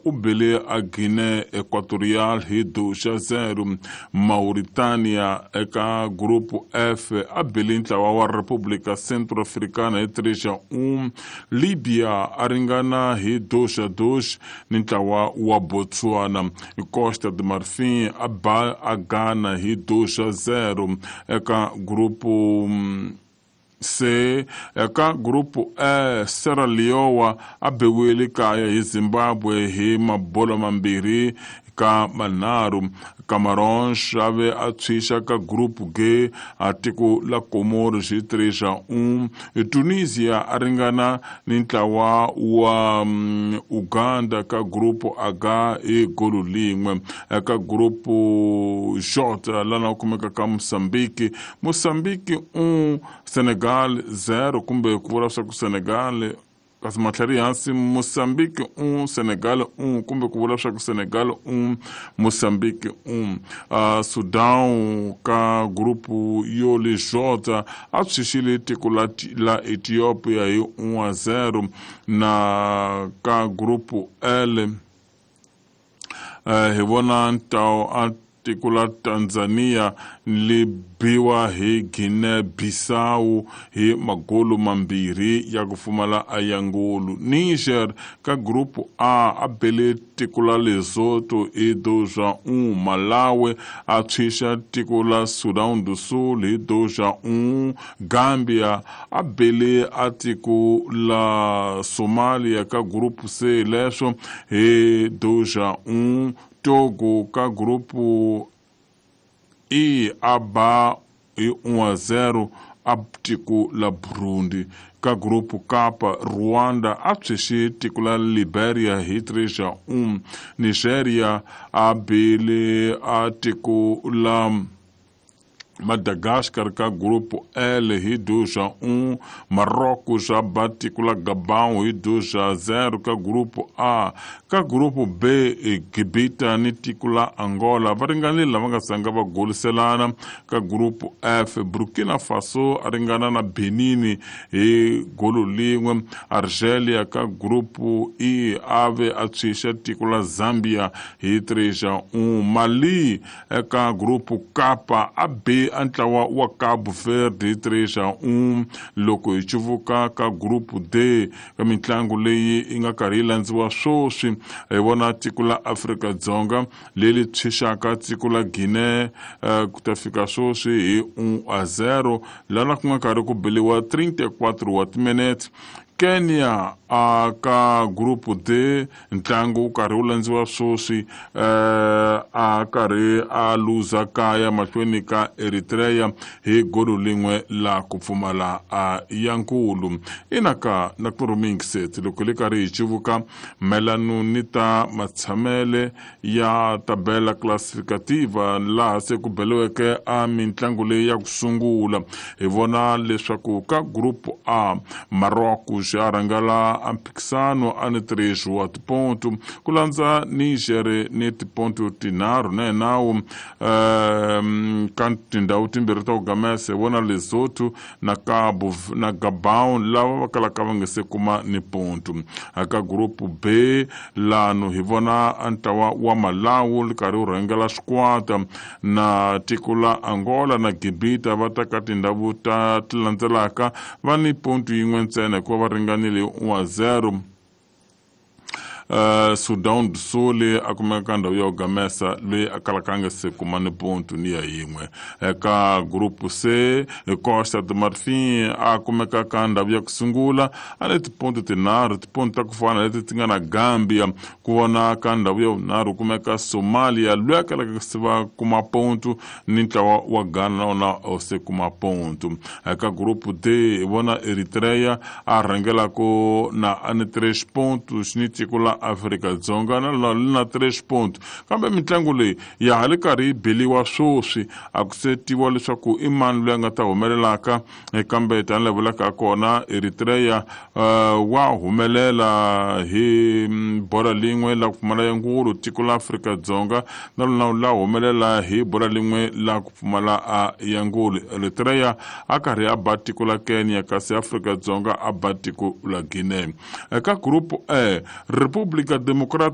U bele a Guinea Equatorial hi 2-0. Mauritania eka Grupo F a bele ntlawa wa República Centro-Africana hi 3-1. Libya a ringana hi 2-2 ni ntlawa wa Botswana. Costa de Marfin a ba a Ghana hi 2-0 eka Grupo C. Eka Grupo E, Sierra Leone a biwile kaya hi Zimbabwe hi mabolo 2-3. Cameroon a ve a tshwixa ka Group G a tiko la Comoros hi 3-1. Tunisia a ringana ni ntlawa wa Uganda ka Group H hi golo 1. Eka Group J lana kumeka ka Mozambique, Mozambique 1 Senegal 0, kumbe ku vula swa ku Senegal kasi matlhari hansi Mozambique 1 Senegal 1, kumbe ku vula swa ku Senegal 1 Mozambique 1. Sudan ka grupu yo le J a tshwixile tiko la Ethiopia hi 1-0. Na ka grupu L hi vona a tiko la Tanzania li biwa hi Guinea Bissau hi magolo 2 ya ku pfumala a ya ngulu. Niger ka Grupo A a bele tiko la Lesotho hi 2-1. Malawi a tshwixa tiko la Sudan do Sul hi 2-1. Gambia a bele a tiko la Somalia ka Grupo C leswo hi 2-1. Togo ka Grupo E a ba hi 1-0 a tiko la Burundi. Ka Grupo K, Rwanda a tshwixe tiko la Liberia hi 3-1. Nigeria a bele a tiko la Madagascar ka Grupo L hi 2-1. Marrocos a ba tiko la Gabão hi 2-0 ka Grupo A. Ka Grupo B, Gibita ni tiko la Angola va ringanile lava nga sanga va goliselana. Ka Grupo F, Burkina Faso a ringana na Benin hi golo 1. Argelia ka Grupo E a ve a tshwixa tiko la Zambia hi 3-1. Mali eka Grupo K a be a ntlawa wa Cabo Verde hi 3-1. Loko hi cuvuka ka Grupo D ka mitlangu leyi yi nga karhi yi landziwa sweswi, hi vona tiko la Afrika-Dzonga leri tshwixaka tiko la Guinea ku ta fika sweswi hi 1-0, lana ku nga karhi ku beliwa 34 wa timinete. Kenya a ka Grupo D ntlangu wu karhi wu landziwa sweswi, a karhi a luza kaya mahlweni ka Eritrea hi golo 1 la ku pfumala a ya nkulu. Inaka na kurumingset loko li karhi hi civuka melano ni ta matshamele ya tabela classificativa laha se ku beliweke a mintlangu leyi ya ku sungula. Hi vona leswaku ka Grupo A, Marrocos a rhangela a mphikisano a ni 3 wa tiponto, ku landza Niger ni tiponto 3 na nawu. Ka tindhawu timbirhi ta ku gamesa hi vona Lesotho na Cabo na Gabon lava va kalaka va nga se kuma ni ponto. Ka Grupo B lano hi vona ntlawa wa Malawi li karhi wu rhangela xikwata na tiko la Angola na Gibita va ta ka tindhawu ta ti landzelaka va ni ponto 1 ntsena hikuva va ringanile 1-0. Sudan do Sul a kumeka ka ndhawu ya ku gamesa loyi a kalaka a nga se kuma ni ponto ni ya yin'we. Eka Grupo C, Costa de Marfin a kumeka ka ndhawu ya ku sungula a ni tiponto 3, tiponto ta ku fana leti ti nga na Gambia. Ku vona ka ndhawu ya vunharhu kumeka Somalia loyi a kalaka se va kuma ponto ni ntlawa wa Ghana na wona se kuma ponto. Eka Grupo D hi vona Eritrea a rhangelaka na a ni 3 pontos ni tiko la Afrika-Dzonga na na 3 ponto. Kambe mitlangu leyi ya ha li karhi yi beliwa sweswi, a ku se tiviwa leswaku i mani loyi a nga ta humelelaka. Kambe tanihi vulaka kona Eritrea wa humelela hi bola 1 la ku pfumala ya ngulu. Tiko la Afrika-Dzonga na rona la humelela hi bola 1 la ku pfumala a ya ngulu. Eritrea a karhi a ba tiko la Kenya, kasi Afrika-Dzonga a ba tiko la Guinea. Eka Grupo E, República Democrática